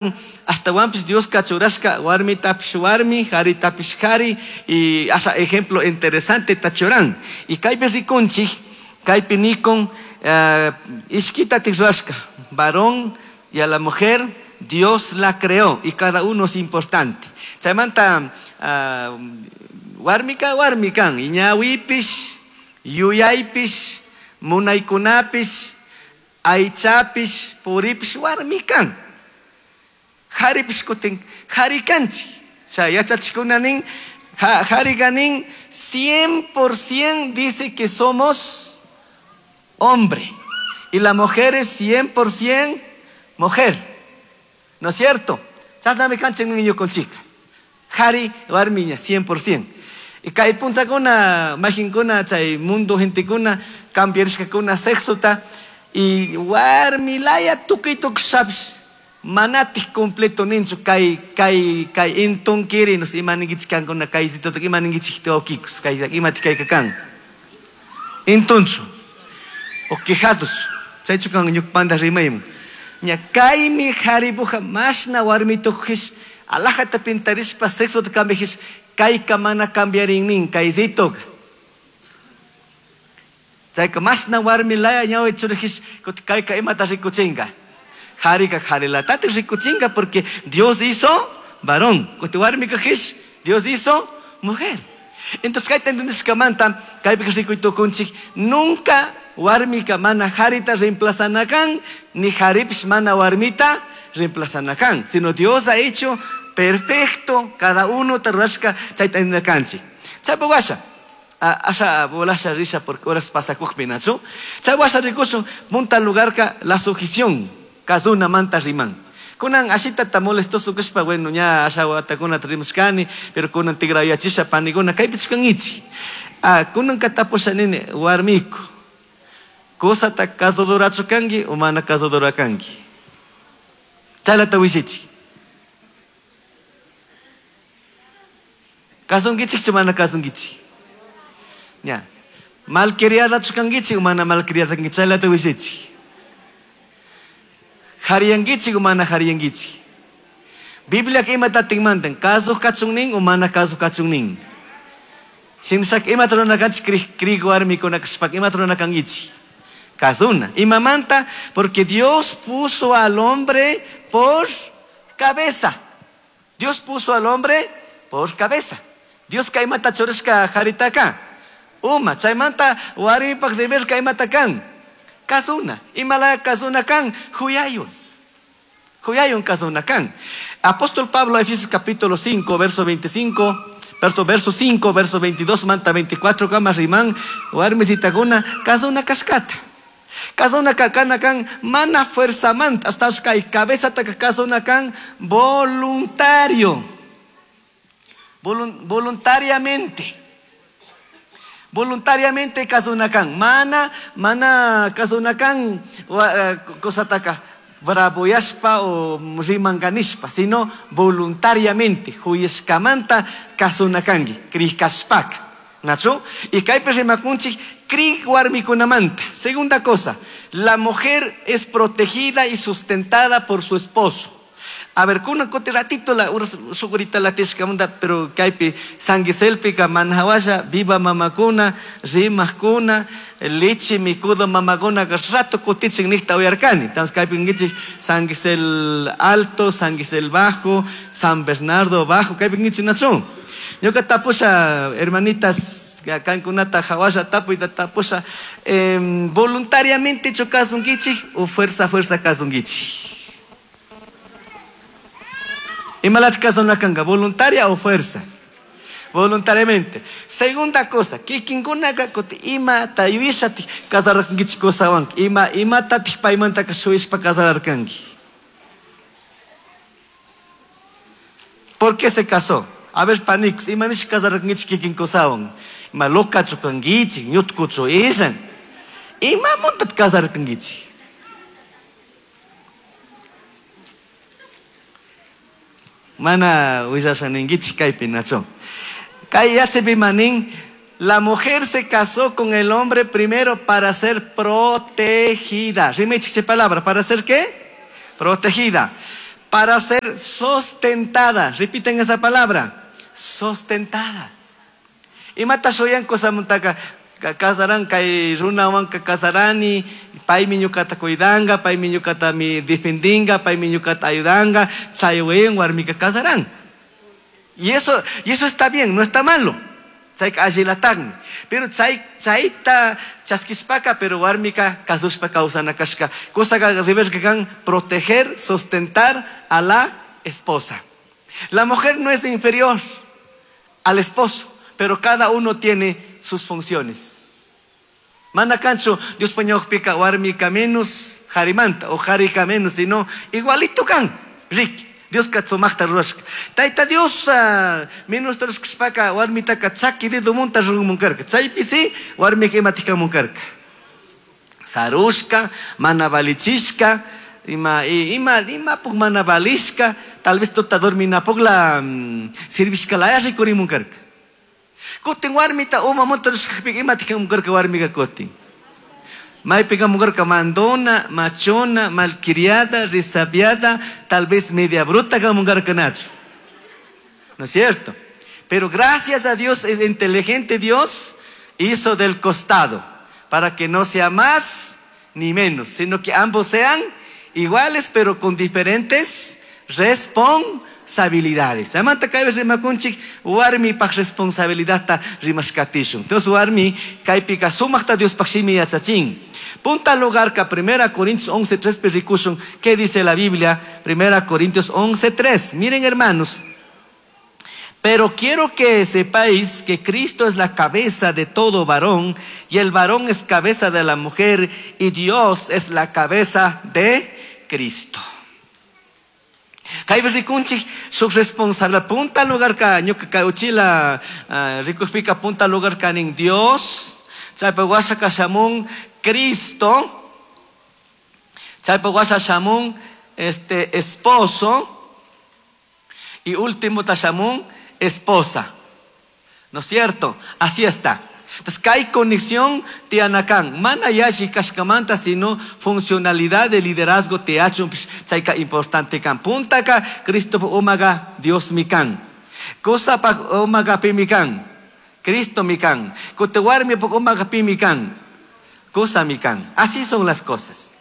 Ashtahuanpish Diosca churashca warmitapish warmi, jaritapish jari, y asha ejemplo interesante ta churan. Y kaypi rikunchik, kaypi nikun, ishquitatik rurashka, varón y a la mujer Dios la creó y cada uno es importante. Chaymanta, warmika warmi kan, y ñawipish, yuyaypish, munaykunapish, aychapish, puripish warmi kan. Jaripish kutin jari kanchik. Chay yachachikuna nin, jariga nin, 100% dice que somos hombre. Y la mujer es 100% mujer. ¿No es cierto? Chashnami kanchik niño con chica. Jari warmiña, 100%. Y kay punchakuna, majinkuna, chay mundo gentekuna, cambiarishkakuna sexota, y warmilaya tukuy tukushapish, manatik completo ninchu kay, kay, kay intunkiri, no sé, ima ninkichik kankuna, kay situta, ima ninkichik teokikus, kay, imatik kayka kan. Intunchu, o quejados, chaychu kan ñukpanta rimaymun. Ña kaymi jaribuja mashna warmitujish, alajata pintarishpa sexota cambiajish, kayka mana cambiarin nin, kaysitoka. Chayka mashna warmilaya ñawi churijish, kuti kayka imata rikuchinka. Jarika jarilatati rikuchinka porque Dios hizo varón. Kuti warmika jish, Dios hizo mujer. Entonces kayta entendishkamanta, kaypi rikuy tukunchik, nunca warmika mana jarita reemplazanakan, ni jaripish mana warmita reemplazanakan, sino Dios ha hecho perfecto cada uno tarrashka chayta entendikanchik. Chaypa washa, asha bolasha risha porque horas pasakujpi nachu. Chay washa rikushun, punta lugarka la sujeción, kazuna manta riman. Kunan ashita ta molestoso kashpa, bueno, ña asha watakuna trimashkani, pero kunan tigrayachisha paniguna, kaypi chuskangichi. Kunan katapusha nini, warmiku, kusata kazudorachu kanki o mana kazudora kanki. Chaylata wishichi. Kasunkichikchu mana kasunkichik. Ña. Malcriadachu kankichik o mana malcriada kankichik, chaylata wishichi. Jariyankichik o mana jariyankichik. Biblia imatatin mandan, kasuj kachun nin o mana kasuj kachun nin. Shinshak imata runa kanchik krik warmikuna kashpaka imata runa kankichik. Kasuna. Imamanta, porque Dios puso al hombre por cabeza. Dios puso al hombre por cabeza. Dios kaymata churashka jaritaka. Uma, chaymanta warmipak deber kaymata kan. Kasuna. Imala kasuna kan, huyayun. Huyayun kasuna kan. Apóstol Pablo, Efesios capítulo 5, verso 25, verso 5, verso 22, manta 24, kama riman, warmisitakuna, kasuna kashkata. Kasuna kakana kan, mana fuerza manta, hasta kay cabeza taka kasuna kan, voluntario. Voluntariamente. Voluntariamente kasunakan. Mana, mana kasunakan, wa kosataka, braboyashpa o rimanganishpa, sino voluntariamente, huyeshkamanta kasunakangi, krikashpaka. ¿Nacho? Y kaypi rimakunchik, krik warmikunamanta. Segunda cosa, la mujer es protegida y sustentada por su esposo. A ver, kunan kuti ratito la uras sugurita la tishka munda, pero kaypi sanguiselpika manhawasha, viva mamakuna, rimakuna, leche mikudo mamakuna, rato kutichin nihta uyarkani. Entonces kaypi ngichik sanguisel alto, sanguisel bajo, San Bernardo bajo, kaypi ngichik nachun. Ñuka tapusha, hermanitas, kankunata hawasha tapuyta tapusha, voluntariamente chukasunkichik o fuerza, fuerza kasunkichik. Imalat kasunakanga, voluntaria o fuerza? Voluntariamente. Segunda cosa, kikinkunaka kuti ima tayuishati kasararkankichik kusawanki, ima, ima tatik paymantaka shuyishpa kasararkanki. ¿Por qué se casó? A ver, panix, ima nish kasararkankichik kikin kusawan? Ima lokachu kankichik, ñutkuchu ishan. Ima muntat kasararkankichik? Mana willasha ninkichik kaypi nacho. Kay yachapi manin, la mujer se casó con el hombre primero para ser protegida. Rimechiche palabra, ¿para ser qué? Protegida. Para ser sustentada. Repiten esa palabra. Sustentada. Imata shuyan kusamantaka kasaran kay runawanka kasarani, paymi ñukata cuidanga, paymi ñukata mi defendinga, paymi ñukata ayudanga, chaywen warmika kasaran. Y eso está bien, no está malo. Chayka allilataqmi. Pero chayta chaskishpaka, pero warmika kasushpa kawsana kashka. Kusaka deberka kan proteger, sustentar a la esposa. La mujer no es inferior al esposo, pero cada uno tiene sus funciones. Mana kanchu Dios pañawpika warmika menos harimanta o harika menos, sino igualito kan. Ricky. Dios sumaqta rurashka. Tayta Dios menos rurashkashpaka warmitaka chaki dedo munta rurumunkarka. Chaypi si warmika imatikamunkarka. Sarushka, mana valichishka, ima imapuk mana valishka, tal vez tuta dorminapukla sirvishka laya rikurimunkarka. Kutin warmita uma munta rurashkapika imatikamunkarka warmika kutin. Maypika mugarka mandona, machona, malcriada, resabiada, tal vez media bruta kamungarka nacho. ¿No es cierto? Pero gracias a Dios, es inteligente Dios, hizo del costado, para que no sea más ni menos, sino que ambos sean iguales, pero con diferentes responsabilidades. Chaymanta kaypi rimakunchik warmipaq responsabilidadta rimashkatishun. Entonces warmi kaypika sumaqta Diospaq shimi yachachin. Punta lugar ka 1 Corintios 11:3 rikushun. ¿Qué dice la Biblia? 1 Corintios 11:3. Miren, hermanos, pero quiero que sepáis que Cristo es la cabeza de todo varón, y el varón es cabeza de la mujer, y Dios es la cabeza de Cristo. Kaypi rikunchik shuk responsabilidad punta lugar ka ñuka kay uchila rikukpika punta lugar kanin Dios, chaypa washa kashamun Cristo, chaypa washa shamun esposo, y último tashamun esposa. ¿No es cierto? Así está. Entonces, kay conexión tianakan. Mana yashi kashkamanta, sino funcionalidad de liderazgo te achun chayka importante kan. Puntaka Cristo umaga Dios mi kan. Cosa pa umaga pi mi kan. Cristo mi kan. Kote warmi pa umaga pi mi kan. Cosa mi kan. Así son las cosas.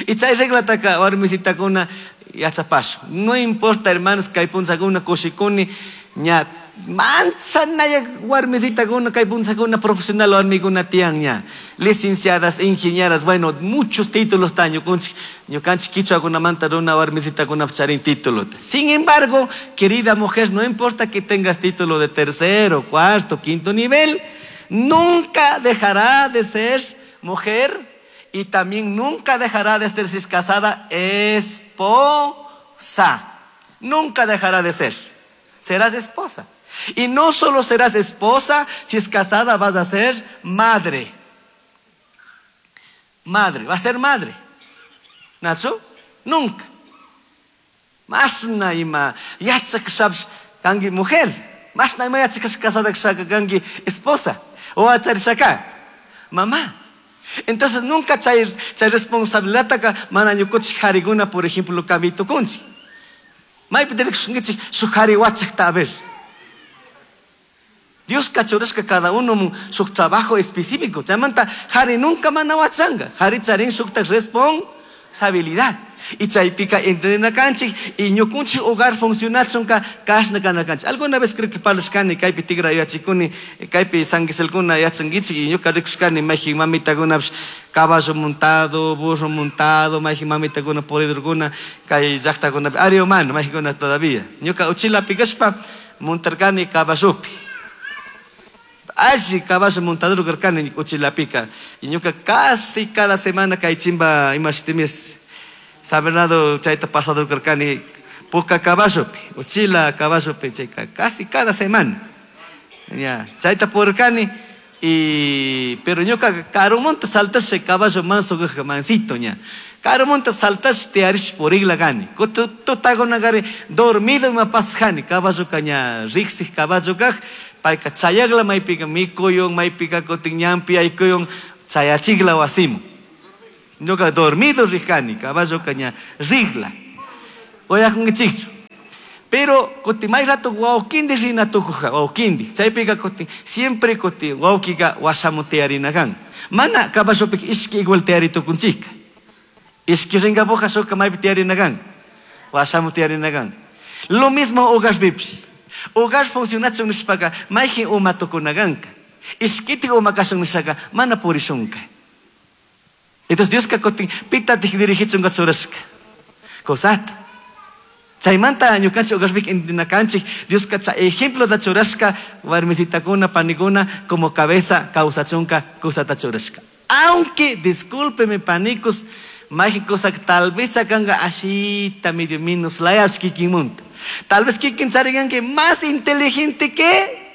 Y chay regla taka warmisitakuna yachapashu. No importa, hermanos, kay punzakuna kushikuni ña manchanaya warmisitakuna kay punzakuna profesional warmikuna tiyan ña. Licenciadas, ingenieras, bueno, muchos títulos tan ñukanchik kichwakunamanta runa warmisitakuna charin título. Sin embargo, querida mujer, no importa que tengas título de tercero, cuarto, quinto nivel, nunca dejará de ser mujer y también nunca dejará de ser, si es casada, esposa. Nunca dejará de ser. Serás esposa. Y no solo serás esposa, si es casada vas a ser madre. Madre, va a ser madre. ¿Nacho? Nunca. Más na ima yachak kangi mujer. Más na ima yachak casada kangi esposa. O acharishaka. Mamá. Entonces nunca chay responsabilidad ka mana ñukuchik hariguna, por ejemplo, kamito kunchi. Maypi dirikshunkichik shuk hari wachakta a ver. Dios kachurashka cada uno su trabajo específico. Chaymanta hari nunca mana wachanga. Hari charin shukta responsabilidad. Y chaypika entendinakanchik y ñukunchik hogar funcionachunka kashna kanakanchik. Alguna vez creo que parlashkani kaypi tigra yachikuni kaypi sanguiselkuna yachankichik y ñuka rikushkani mayjin mamitakunapish caballo montado, burro montado, mayjin mamitakuna puridurkuna kay llaqtakunapi ari humano mayjinkuna todavía. Ñuka uchilapi kashpa montarkani caballopi. Alli caballo montador karkani uchilapika. Y ñuka casi cada semana kay chimba imashitimis San Bernardo chayta pasador karkani puka caballopi, uchila caballopi chayka casi cada semana. Ya, chayta purkani y pero ñuka karumonta saltashe caballo manso mansito ña. Karumonta saltashe te arish purigla gani. Tutaguna gari dormido ma pasjani caballo caña rixi caballo kaj payka chayagla maypika mikuyun maypika kutin ñampi aykuyun chayachigla wasimu. Ñuka dormido rijani, caballo caña rigla. Uyakunkichikchu. Pero kuti may rato wawkindi rina tukuja, wawkindi. Chaypiqa kuti siempre kuti wawkiqa washamu tiyarina kan. Mana caballopik ishki igual tiyari tukunchikka. Ishki rinkapuja shuka maypi tiyarina kan. Washamu tiyarina kan. Lo mismo hogarpipis. Hogar funcionachun nishpaka mayjin uma tukuna kanka. Ishkitik uma kashun nishaka mana purishunka. Entonces Dioska kutin pitatik dirigichunka churashka. Cosata. Chaymanta ñukanchik hogarpik intinakanchik Dioska chay ejemplo da churashka warmisitakuna panikuna como cabeza kawsachunka kusata churashka. Aunque, discúlpeme panicos, mayjin cosa tal vez sacanka ashita medio minus layach kikinmunta. Tal vez kikin chariganki más inteligente que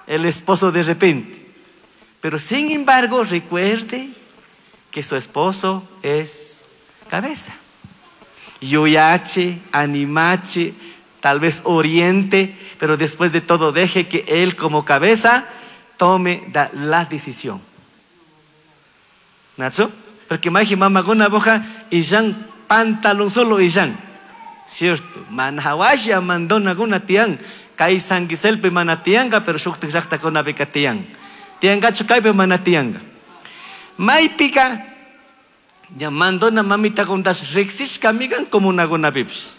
el esposo de repente. Pero sin embargo, recuerde que su esposo es cabeza. Yuyache, animache, tal vez oriente, pero después de todo deje que él como cabeza tome la decisión. ¿Nacho? Porque maji mama guna boja y yan pantalón solo y yan. Cierto. Manhawasha mandona guna tian. Kai sanguiselpe mana tianga, pero shuktik llaqta kuna bika tian. Tiangachu kaype mana tianga. Maypika ya mandona mamita kuntas riqsishka migan como una guna pipis.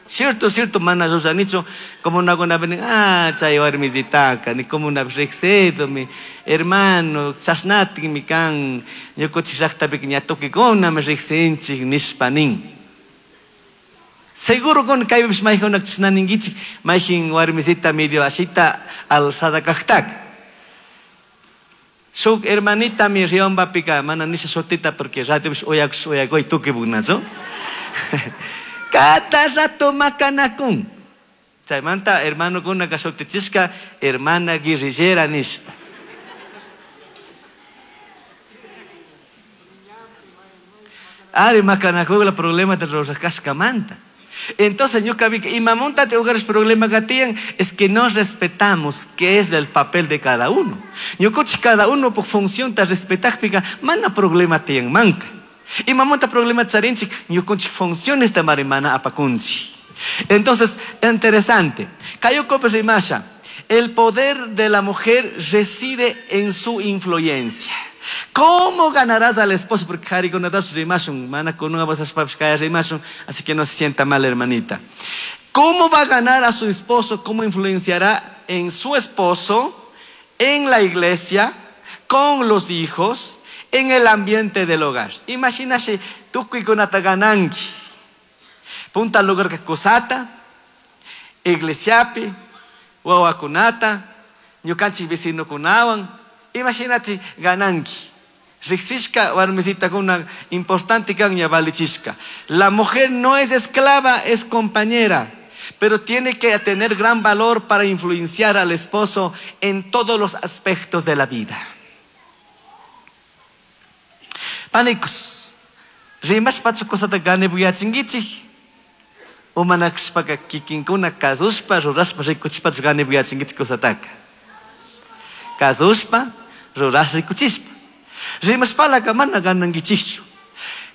Cierto, cierto, mana ruranichu como una guna pinin, ah, chay warmisitaka, ni como una riqsido, mi hermano, chashnatin mi kan, ñukuchik llaqtapika ña tukikuna mi riqsinchik nishpa nin. Seguro con kaypipish mayjunak chashnaninkichik, mayjin warmisita medio ashita alzada kaqtaka. Shuk hermanita mi riombapika, mana nisha shutita porque ratopish uyakush uyakuy tukipuknachu. Cada rato makanakun. Chaymanta hermano kunaka shutichishka hermana guerrillera nishpa. Ari makanakugla problema de rurashkashkamanta. Entonces, ñuka vi que imamunta te hogares problema que tienen es que no respetamos qué es el papel de cada uno. Ñukuchi cada uno por función te respetaj pica, mana problema tienen manca. Imamunta problema charinchik, ñukunchik funciones de marimana apakunchi. Entonces, interesante. Kayoko rimasha, el poder de la mujer reside en su influencia. ¿Cómo ganarás al esposo? Porque así que no se sienta mal, hermanita. ¿Cómo va a ganar a su esposo? ¿Cómo influenciará en su esposo, en la iglesia, con los hijos, en el ambiente del hogar? Imagínate, tukuy kunata gananki. Punta lugar que kusata, iglesiapi, wawakunata, ñukanchik vecinokunawan. Imagínate gananki. Riqsishka warmisita kuna importante kan ña valichishka. La mujer no es esclava, es compañera, pero tiene que tener gran valor para influenciar al esposo en todos los aspectos de la vida. Panicos, rimashpachu cosata ganebuyachinkichik, umanakshpaka kikinkuna kasushpa rurashpa rikuchishpachu ganebuyachinkichik cosataka. Kasushpa rurashpa rikuchishpa. Rimashpalaka mana ganankichikchu.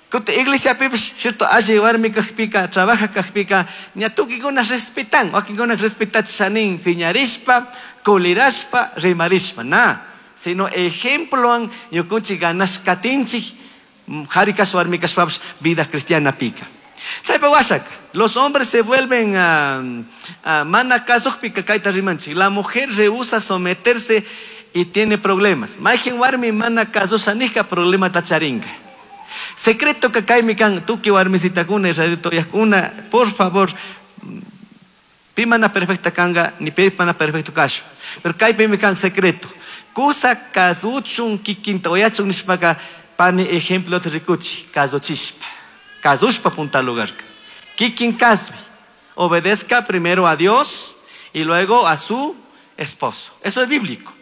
Kuti iglesiapipish, cierto, alli warmi kajpika, trabaja kajpika, ña tukikuna respetan, wakinkuna respetachishanin, piñarishpa, kulirashpa, rimarishpa, na. Sino ejemploan ñukunchik ganashkatinchik, harikash warmikashpapish vida cristiana pika. Chaypa washaka, los hombres se vuelven a mana kasukpika kayta rimanchik. La mujer rehúsa someterse y tiene problemas. Mayjin warmi mana kasushanika problema tacharinka. Secreto que kaymi kan tuki warmisitakuna israelitoyakuna, por favor, pi mana perfecta kanga, ni pi mana perfecto kashu. Pero kaypimi kan secreto. Kusa kasuchun kikinta oyachun nishpaka pani ejemplo te rikuchi, kasuchishpa. Kasushpa punta lugar. Kikin kasui. Obedezca primero a Dios y luego a su esposo. Eso es bíblico.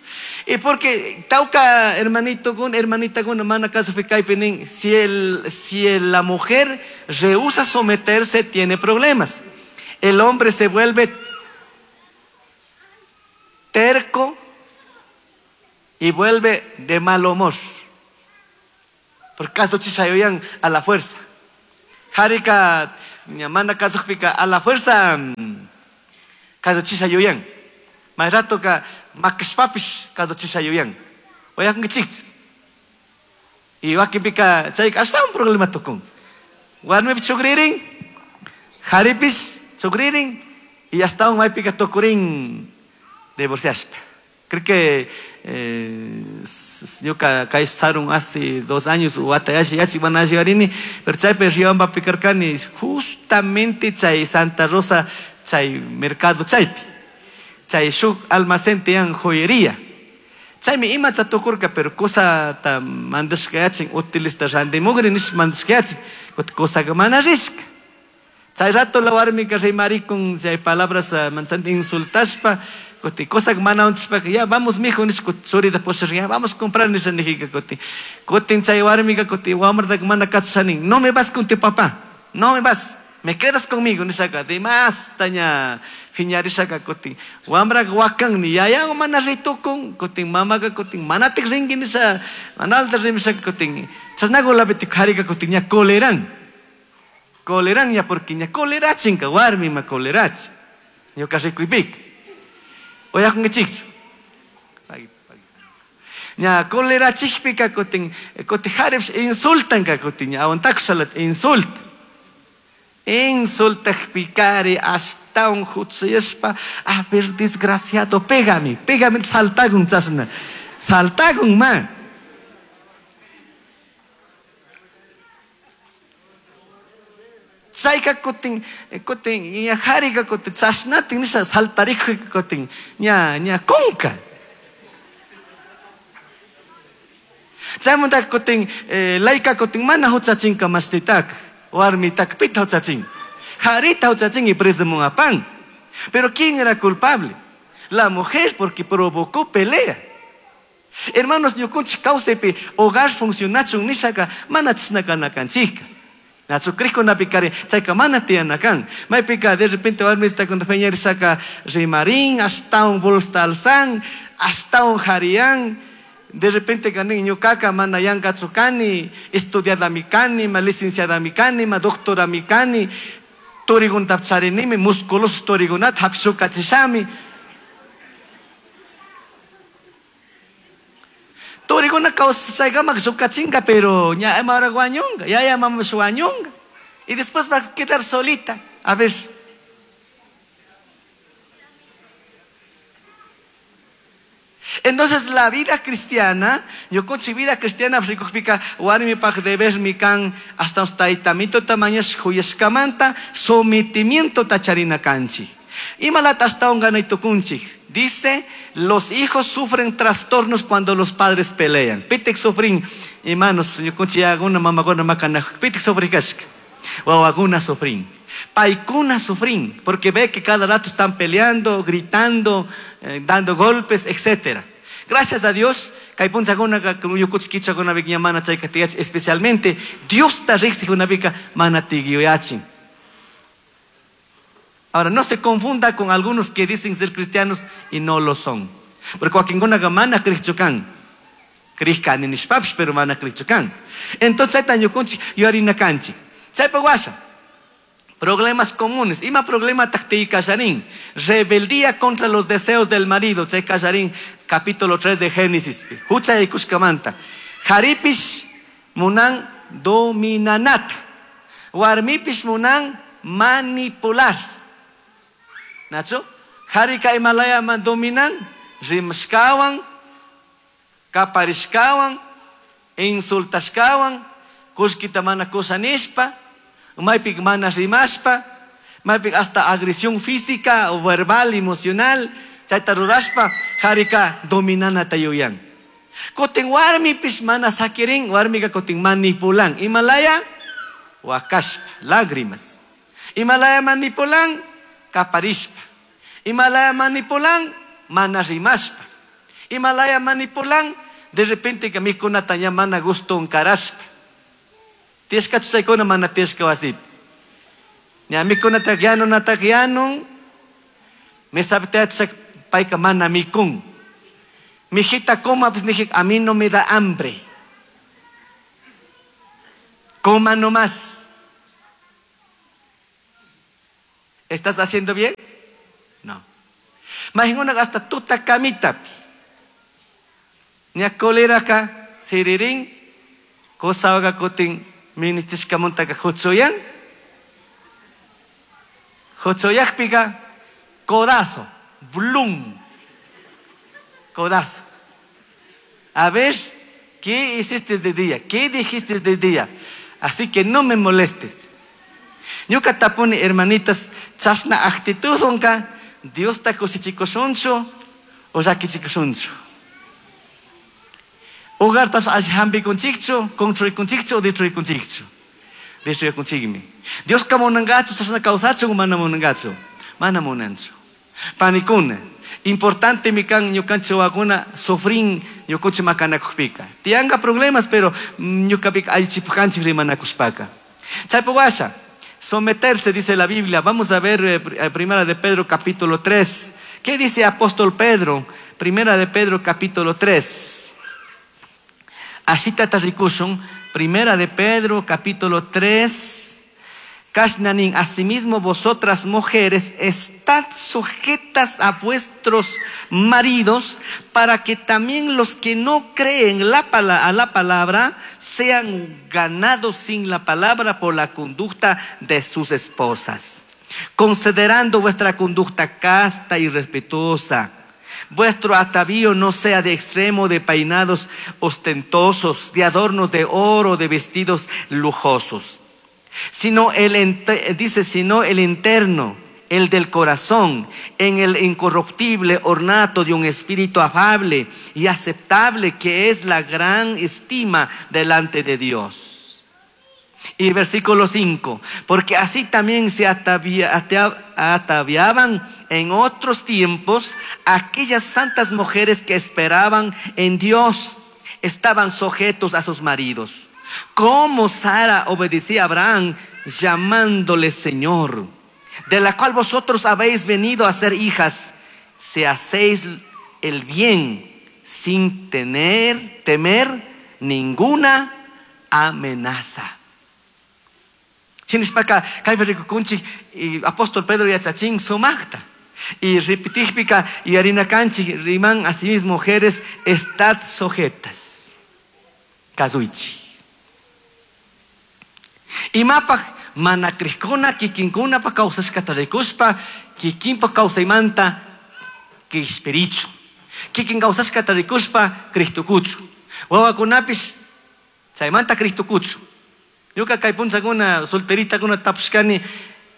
Y porque tauca hermanito con hermanita con hermana caso penin, si la mujer rehúsa someterse tiene problemas. El hombre se vuelve terco y vuelve de mal humor. Por caso chisayoyan a la fuerza. Harika Mana kasukpika a la fuerza kasuchisha yuyan. May ratoka makashpapish kasuchisha yuyan. Uyakunkichikchu. Y wakinpika chayka ashtawan problema tukun. Warmipish chukririn, jaripish chukririn y ashtawan maypika tukurin divorciashpa. Creo que ñuka kay sarun hace 2 años wata yachi yachi mana alli pero chaypi Riobambapi karkani justamente chay Santa Rosa chay mercado chaypi chay shuk almacén tiyan joyería. Chaymi imacha tukurka pero cosata mandashka yachin utilista randimugri nish mandashka yachin cosaka mana rishka. Chay rato la warmika rimarikun chay palabras manzanti insultashpa kuti cosa mana unchispa ya vamos mijo nish churita pushar ya vamos a comprar nisha nijika kuti kutin chay warmika kuti wamrata mana kachashanin no me vas con tu papá, no me vas, me quedas conmigo nishaka de más taña phiñarishaka kutin wamraka wakan ni yaya mana ritukun kutin mamaka kutin manatik rinki nisha manalta rimishaka kutin chashnakulapi kharika kutin ña coleran coleran ya porque ña colerachinka warmi ma colerachi ñuka rikuypika. Oyakunkichikchu. Ña colerachikpika kutin kutin jaripish insultanka kutin ña aguantakushalat insulta. Insultakpikari ashtawan huchayashpa a ver desgraciado pégame, pégame saltakun chashna. Saltakun ma. Chayka kutin kutin ña jarika kutin chashnatin nisha saltarikuyka kutin ña ña kunka. Chaymanta kutin layka kutin mana huchachinka mashtitaka warmitaka pita huchachin. Jarita huchachin y preso apan. Pero ¿quién era culpable? La mujer porque provocó pelea. Hermanos, ñukunchik kawsaypi hogar funcionachun nishaka mana chishnaka nakanchika. Nachu krikunapi chayka mana tiyanakan. Maypika de repente warmista con feñarishaka rimarin, ashtawan bolsa alzan, ashtawan jarian. De repente kanin ñukaka mana yankachu kani, estudiadami kani, ma licenciadami kani, ma doctorami kani, turigunta charinimi, musculoso turigunata hapishukachishami. Turiguna kawsaykamak shukachinka, pero ña ahora guañunga, ya ya mama shuañunga. Y después va a quedar solita. A ver. Entonces la vida cristiana, yo con vida cristiana, psicopica, warmi pak deber mi kan hasta taitamito tamañas huyeskamanta, sometimiento tacharina kanchi. Imalata hasta un ganaytukunchi. Dice, los hijos sufren trastornos cuando los padres pelean. Pitik sufrin, hermanos, yo con una mamá con una pitik sufrin kashka. Wawaguna sufrin. Paikuna sufrin, porque ve que cada rato están peleando, gritando, dando golpes, etc. Gracias a Dios, especialmente Dios está Ahora, no se confunda con algunos que dicen ser cristianos y no lo son. Porque wakinkuna mana krichukan. Krishkani nishpapish, pero mana krichukan. Entonces, chayta ñukunchik yuyarina kanchik. Chaypa washa. Problemas comunes. Ima problema taqtiy kasharin. Rebeldía contra los deseos del marido. Chay kasharin, capítulo 3 de Génesis. Hucha yaykushkamanta. Jaripish munan dominanata. Warmipish munan manipular. Nacho? Harika Himalaya man dominan, rimashkawan, kaparishkawan, insultashkawan, kushkita mana kusanishpa, maypik mana rimashpa, maypik hasta agresión física o verbal, emocional, chayta rurashpa, harika dominana tayuyan. Kotin warmipish mana sakirin, warmika kotin manipulan. Himalaya, wakashpa, lágrimas. Himalaya manipulan, kaparishpa. Himalaya manipulan, mana rimashpa. Himalaya manipulan, de repente que mikunata ña mana gusto unkarashpa. Tieska chuchaykuna mana tieska wasipi. Ña mikunata yanunata yanun, mesapi tiyachak payka mana mikun. Mijita coma, pues dije, a mí no me da hambre. Coma nomás. ¿Estás haciendo bien? No. Mayqinkunaqa hasta tuta camitapi. Ña coleraka siririn, kusawaqa kutin ministishkamuntaka huchuyan. Huchuyaqpiqa codazo, blum, codazo. A ver, ¿qué hiciste de día? ¿Qué dijiste de día? Así que no me molestes. Ñuka tapuni hermanitas, chasna actitudunka, Diosta kushichikushunchu o llakichikushunchu. Hogartas alli hampikunchikchu, construikunchikchu o destruikunchikchu. Destruikunchikmi. Dioska munankachu, chasna kawsachun mana munankachu. Mana munanchu. Panikuna, importante mi kan ñukanchik wawakuna sufrin ñukunchik makanakukpika. Tiyanka problemas, pero ñukapika allichipukanchik rimanakushpaka. Chaypi washa, someterse, dice la Biblia. Vamos a ver Primera de Pedro capítulo 3. ¿Qué dice apóstol Pedro? Primera de Pedro capítulo 3. Ashitata rikushun. Primera de Pedro capítulo 3. Kashnanin, asimismo vosotras mujeres, estad sujetas a vuestros maridos, para que también los que no creen a la palabra sean ganados sin la palabra por la conducta de sus esposas, considerando vuestra conducta casta y respetuosa. Vuestro atavío no sea de extremo de peinados ostentosos, de adornos de oro, de vestidos lujosos, sino el dice, sino el interno, el del corazón, en el incorruptible ornato de un espíritu afable y aceptable, que es la gran estima delante de Dios. Y versículo 5, porque así también se ataviaban en otros tiempos aquellas santas mujeres que esperaban en Dios, estaban sujetos a sus maridos. Como Sara obedecía a Abraham, llamándole Señor, de la cual vosotros habéis venido a ser hijas, si hacéis el bien sin temer ninguna amenaza. Shinishpaka, kaypi rikukunchik, y apóstol Pedro yachachin sumaqta. Y repetijpika, y harina kanchik, riman asimismo mujeres, estad sujetas. Kasuichi. Imapaj mana krishkuna kikinkuna pa kawsashkata rikushpa, kikinpa kawsaymanta kishpirichu. Kikin kawsashkata rikushpa Cristokuchu. Wawakunapish chaymanta Cristokuchu. Ñuka kay punchakuna solteritakuna tapushkani,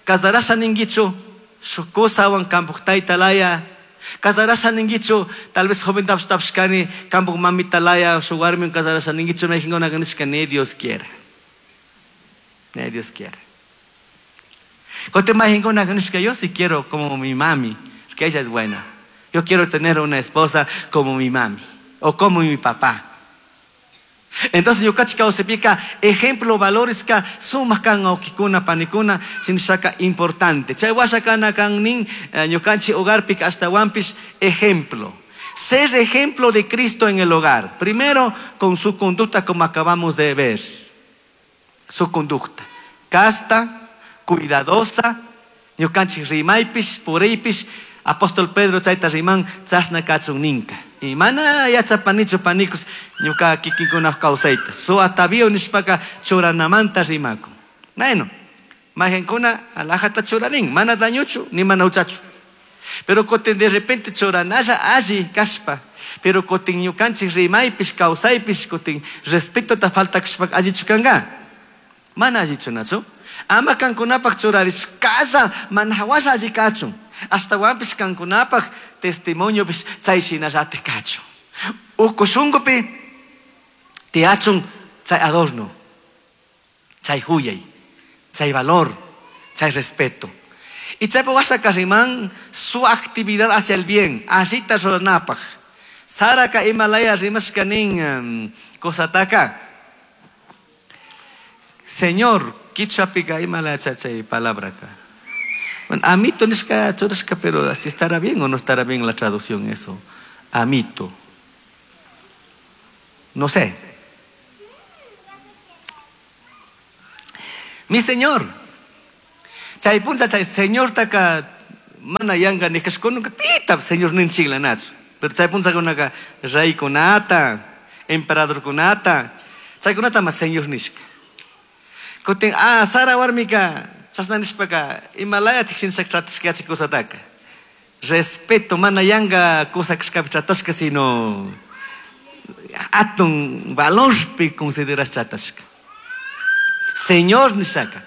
casarasha ninguichu, shuk kusawan kampuk tayta laya. Casarasha ninguichu, tal vez joven tapushkani, kampuk mamita laya, shuk warmiwan casarasha ninguichu, mayqinkunaka nishka, ni Dios quiera. Ni Dios quiera. Kote mayqinkunaka nishka, yo sí quiero como mi mami, porque ella es buena. Yo quiero tener una esposa como mi mami o como mi papá. Entonces yo cachi kawsapika ejemplo valores ka sumak kan awkikuna panikuna sinishaka importante. Chay washa kana kan nin ñukanchi hogarpika hasta wampis ejemplo. Ser ejemplo de Cristo en el hogar. Primero con su conducta como acabamos de ver. Su conducta. Casta, cuidadosa, ñukanchi rimaypis, puriypis, apóstol Pedro chayta riman chasna kachun ninka. Y mana yachapanichu panikus ñuka kikinkuna kawsayta. Su atavío nishpaka churanamanta rimakun. Bueno, majenkuna alajata churanin, mana dañuchu ni mana uchachu. Pero kotin de repente churanalla alli kashpa. Pero kotin ñukanchik rimaypis kawsaypis kotin respeto ta falta kashpa allichu kanga. Mana allichu nachu. Ama kankunapaq churarishkalla mana hawalla alli kachun. Astawanpis kankunapaq testimoniopis chay shinallatik kachun. Uku shunkupi tiyachun chay adorno, chay huyay, chay valor, chay respeto. Y chaypa washa riman su actividad hacia el bien, allita ruranapaq. Saraka imalaya rimashka nin kosataka. Señor, quichuapika imalaya chay palabra acá. Bueno, amito nishka churashka, pero así estará bien o no estará bien la traducción eso. Amito. No sé. Mi Señor. Chay puncha chay señortaka mana yanka nishkashkunaka pita señor ninchikla nachu. Pero chay punchakunaka reykunata, emperadorkunata, chaykunata ma señor nishka. Kutin Sara warmika chashna nishpaka imalaya tiksinchak tratashka yachik kusataka. Respeto mana yanka kusa kashkapi tratashka sino atun valorpi considerash tratashka. Señor nishaka.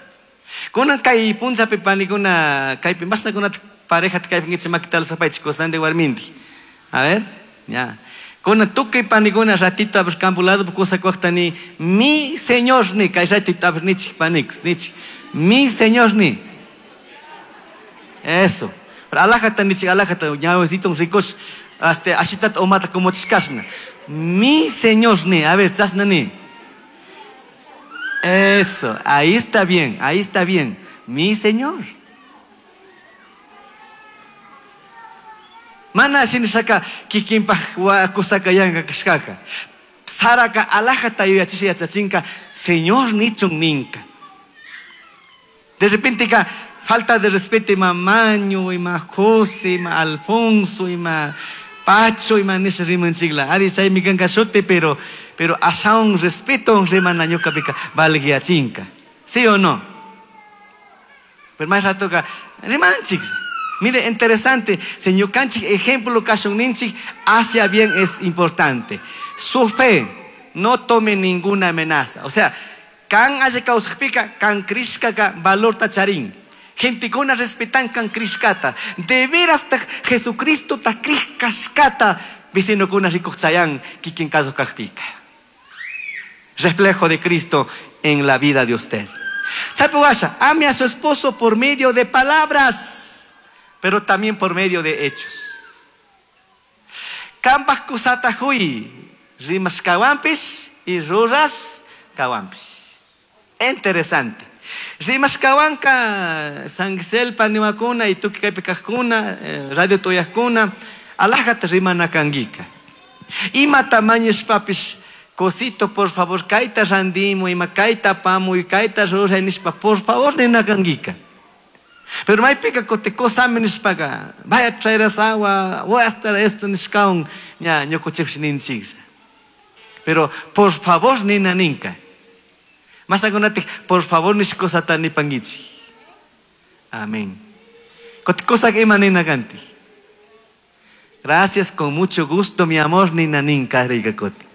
Kunan kay punchapi panikuna kaypi mashnakunata parejata kaypi ngichi makita alzapaychik kusandi warminti. A ver, ya. Kunan tukuy panikuna ratito a ver campo lado kusa ni mi señor ni kay ratito a ver nichik panikus nichik mi señor ni. Eso. Pero alajata nichik alajata ñawesito ricos hasta ashitat omata como chikashna. Mi señor ni, a ver, chasna ni. Eso, ahí está bien, ahí está bien. Mi señor. Mana shinishaka kikinpaj kusaka yanka kashkaka. Saraka alajata yuyachisha yachachinka, señor nichun ninka. De repente ka falta de respeto ima Maño, ima José, ima Alfonso, ima Pacho, ima nisha rimanchikla. Ari chaymi kanka shuti, pero ashaun respeto rimana ñuqapika valguiachinka. ¿Sí o no? Pero más rato ka rimanchik. Mire, interesante, señor Canchik, ejemplo kashun ninchik, hacia bien es importante. Su fe no tome ninguna amenaza. O sea, kan haya kausajpika, kan krishkaka valor tacharín. Gentekuna respetan kan krishkata. De veras ta Jesucristo ta krishkashkata, vecinokuna rikuchayán, kikin caso kajpika. Reflejo de Cristo en la vida de usted. Chapuasha, ame a su esposo por medio de palabras, pero también por medio de hechos. Kambaj kusata hui, rimas kawampis y ruras kawampis. Interesante. Rimas kawanka, San paniwakuna y tuki kaypi kajkuna, radio toyajkuna, alajata rimana kangika. Ima tamañishpapis, cosito, por favor, kaita randimo, ima kaita pamu, y kaita ruray nishpa, por favor, nina kangika. Pero maypika kote kosami nishpaka, vaya a traer esa agua, voy a estar esto nishkaun, ña, ñukuchipsh ninchiklla. Pero por favor, nina ninka. Más agunatik, por favor, nishkosata nipangichi. Amén. Kote cosa que ima nina kanti. Gracias, con mucho gusto, mi amor, nina ninka riga kote.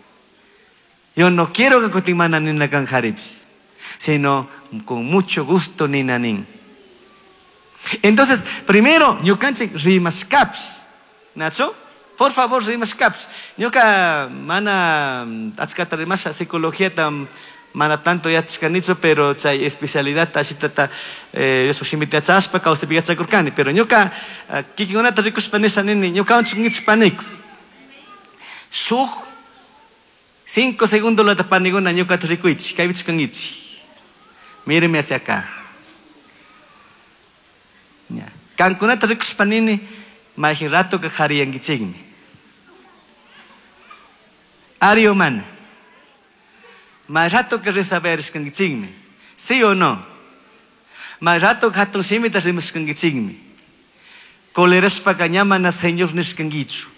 Yo no quiero que kote mana nina kan jaripsh, sino con mucho gusto, nina nin. Entonces, primero, ñukanchik rimaskaps. Nacho, por favor, rimaskaps. Ñuka mana achkata rimasha psicología tam mana tanto yachkanichu, pero chay especialidad ashitata Dios shimita yachashpa kawsaypi yachakurkani. Pero ñuka kikinkunata rikushpa nisha nini, ñuka unchuk niks. Shuk 5 segundos lata paniguna ñukata rikuychik, kaypichu kankichik. Míreme hacia acá. Kankunata rikushpa nini, mayqin rato ka qhariyankichikmi. Ari o mana. May rato ka resaberishkankichikmi. ¿Sí o no? May rato ka hatun shimita rimashkankichikmi. Colerashpaka ña mana señor nishkankichu.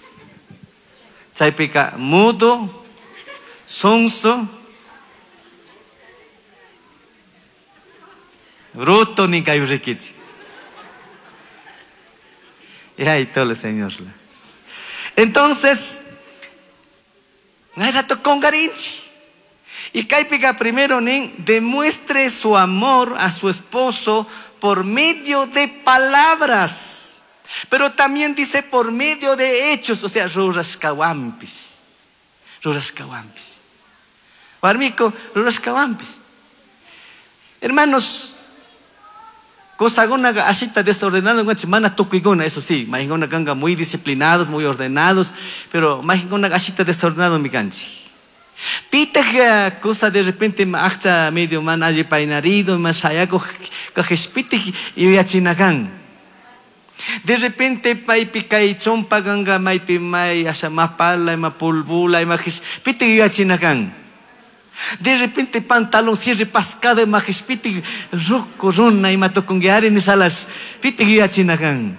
Chaypika mudo, sonso, bruto ninkaypi rikichik. Y ahí todo el Señor. Entonces, hay rato con garinchi. Y kaypika primero nin demuestre su amor a su esposo por medio de palabras. Pero también dice por medio de hechos, o sea, rurashkawampis. Rurashkawampis. Warmiko, rurashkawampis. Hermanos, Cosaguna ashita desordenado, mana tukuiguna, eso sí, mahinguna ganga muy disciplinados, muy ordenados, pero mahinguna ashita desordenado mi canchi. Pita cosa de repente achta medio man allí painarido, más hayaco kajespite y yachinagan. De repente paipi kai chompa ganga maipi mai asha mapala ima pulbula ima pita yachinagan. De repente pantalón cierre pascado majishpiti ruku runa ima tukunki nishalas pitik yuyachina kan.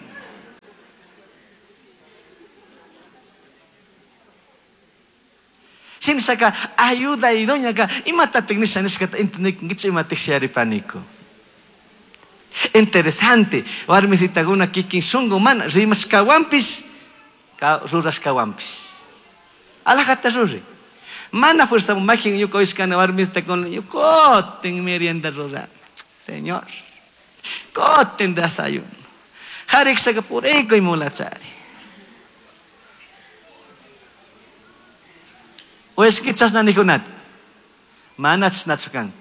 Shinashaka ayuda idóneaka imatatik nisha nishkata entendekunkichu imatik shayaripaniku. Interesante, warmisitakuna kikin shunku mana rimashkawanpish rurashkawanpish. Alajata ruri. Mana fuerza makin ñuka uyashkani warmisitakuna kutin merienda rurani. Señor, kutin desayuno. Jarikshaka purikuy mulachari. Uyashki chashna nijunata. Mana chashnachu kan.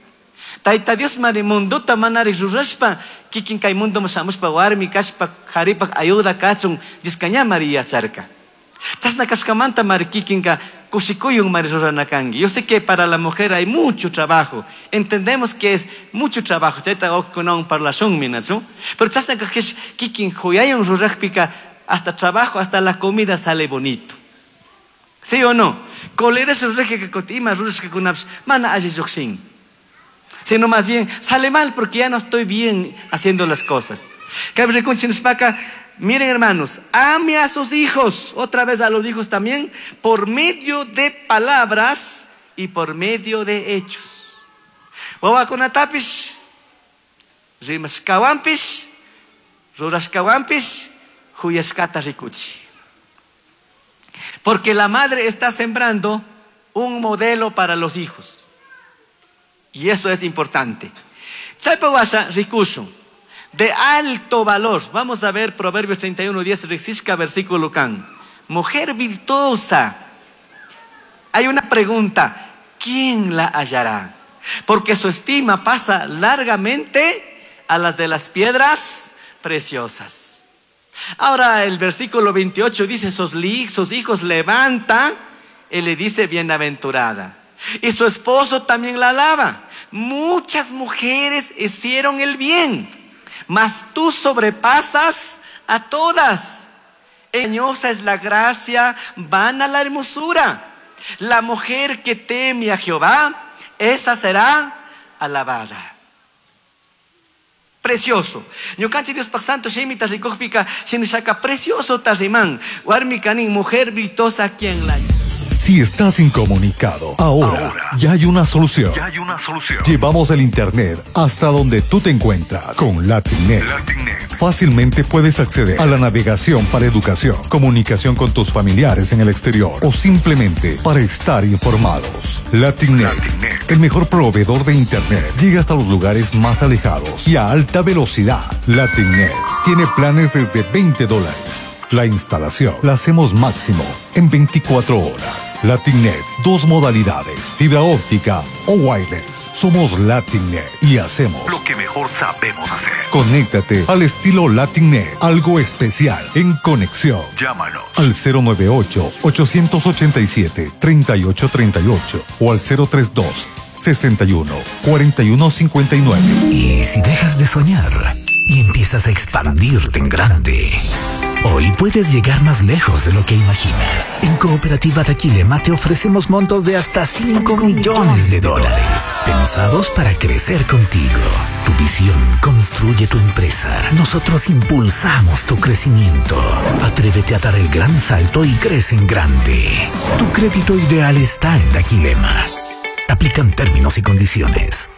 Tayta Dios mari mundota manarik rurashpa kikin kay mundoman shamushpa warmi kashpa jaripak ayuda kachun Dioska ña mari yacharka. Chashna kashkamanta mari kikinka kushikuyun mari rurana kanki. Yo sé que para la mujer hay mucho trabajo. Entendemos que es mucho trabajo. Chayta wawqikunawan parlashunmi, ¿nachu? Pero chashna kajkish kikin huyayun rurajpika hasta trabajo, hasta la comida sale bonito. ¿Sí o no? Coleras rurajka kuti ima rurashkakunapish mana alli llukshin. Sino más bien sale mal porque ya no estoy bien haciendo las cosas. Miren hermanos, ame a sus hijos, otra vez a los hijos también, por medio de palabras y por medio de hechos. Wawakunatapish, rimashkawanpish, rurashkawanpish, huyashkata rikuchi. Porque la madre está sembrando un modelo para los hijos. Y eso es importante. Chaypawasha rikushun, de alto valor. Vamos a ver Proverbios 31, 10, Rixishka, versículo can. Mujer virtuosa. Hay una pregunta, ¿quién la hallará? Porque su estima pasa largamente a las de las piedras preciosas. Ahora el versículo 28 dice, sus hijos levanta, y le dice bienaventurada. Y su esposo también la alaba. Muchas mujeres hicieron el bien, mas tú sobrepasas a todas. Engañosa es la gracia, vana la hermosura. La mujer que teme a Jehová, esa será alabada. Precioso. Ñukanchik Diospaj santo shimita rikujpika shinashaka precioso tarriman. Warmi kanin mujer virtuosa quien la. Si estás incomunicado, ahora ya hay una solución. Ya hay una solución. Llevamos el internet hasta donde tú te encuentras con LatinNet. LatinNet. Fácilmente puedes acceder a la navegación para educación, comunicación con tus familiares en el exterior o simplemente para estar informados. LatinNet, LatinNet. el mejor proveedor de internet, llega hasta los lugares más alejados y a alta velocidad. LatinNet tiene planes desde $20. La instalación la hacemos máximo en 24 horas. LatinNet, dos modalidades, fibra óptica o wireless. Somos LatinNet y hacemos lo que mejor sabemos hacer. Conéctate al estilo LatinNet, algo especial en conexión. Llámanos al cero nueve ocho, 887, 3838 o al cero tres dos, 61, 41, 59. Y si dejas de soñar y empiezas a expandirte en grande, hoy puedes llegar más lejos de lo que imaginas. En Cooperativa Daquilema te ofrecemos montos de hasta 5 millones de dólares, pensados para crecer contigo. Tu visión construye tu empresa. Nosotros impulsamos tu crecimiento. Atrévete a dar el gran salto y crece en grande. Tu crédito ideal está en Daquilema. Aplican términos y condiciones.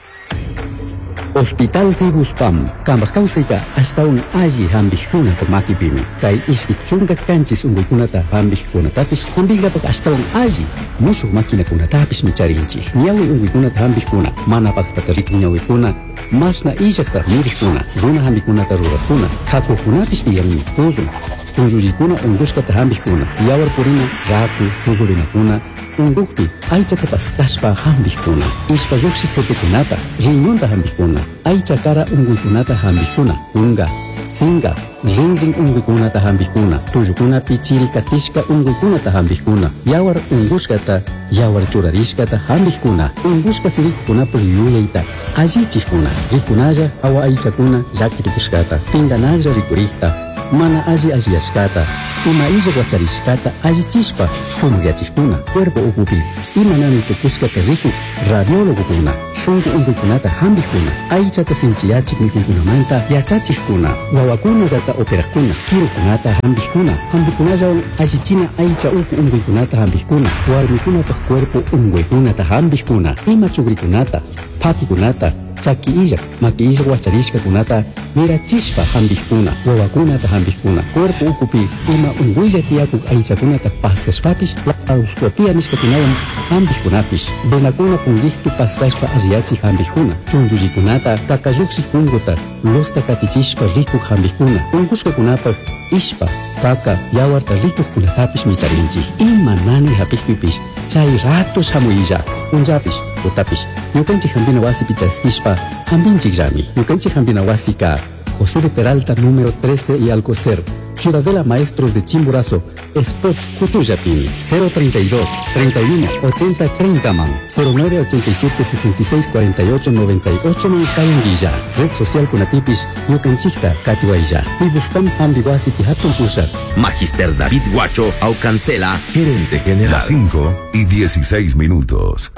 Hospital Fibuspam, Kambajkausita, hasta un alli hambijuna makipimi. Kay ishki chunka kanchis unguikunata hambijkunatapish, hambigapak hasta un alli mushuq maquinakunatapish micharinchik. Ñawi unguikunata hambijkuna, mana paqtata rikuñawikuna, masna illaqta mirijkuna, runa hambikunata rurakuna, hakukunapish tiyanmi, tuzun, chunllullikuna ungushkata hambijkuna, yawar purina, raku, chuzurinakuna, ungukpi, aychata paskashpa hambijkuna, ishpa lluqshik tutukunata, riñonta hambijkuna, aycha kara unguykunata hambijkuna, unga, singa, rinrin unguykunata hambijkuna, tullukunapi chirikatishka unguykunata hambijkuna, yawar ungushkata, yawar churarishkata hambijkuna, ungushka sirikukunapuk yuyayta, allichikuna, rikunalla hawa aychakuna llakirikushkata, pinganalla rikurikta, mana alli alliyashkata, Ima illa wacharishkata allichishpa sumakyachikuna, cuerpo ukupi ima nani tukushkata rikuk radiólogokuna, shunku unkuykunata hampikkuna, aychata sinchiyachik mikuykunamanta yachachikkuna, wawakunallata operakuna, kirukunata hampikkuna, hampikunallawan allichina aycha uku unkuykunata hampikkuna, warmikunapak cuerpo unkuykunata hampikkuna, ima chukrikunata, pakikunata, chaki illak, maki illak wacharishkakunata mirachishpa hampikkuna, wawakunata hampikkuna, cuerpo ukupi ima unkuylla tiyakuk aychakunata paskashpapish laparoscopia nishkakunawan hampikkunapish, venakuna punkikpi paskashpa alliyachik hampikkuna, chunchullikunata kakalluksik punkuta lusta katichishpa rikuk hampikkuna, unkushkakunapak ishpa, kaka, yawarta rikukkunatapish micharinchik. Ima nani hapikpipish chay rato shamuylla, punllapish, tutapish, ñukanchik hampina wasipi chaskishpa hampinchikllami. Ñukanchik hampina wasika José de Peralta número 13 y Alcocer, Ciudadela Maestros de Chimborazo, Spot Cutuyapini, 032 31 80 30 man, 09 87 66 48 98 man Cayanguilla, Red Social Kunatipis, Ñukanchikta Katiwaylla, Pibuspam Hambiwasipi Hatun Pushak. Magister David Guacho Aucancela, gerente general. Las 5 y 16 minutos.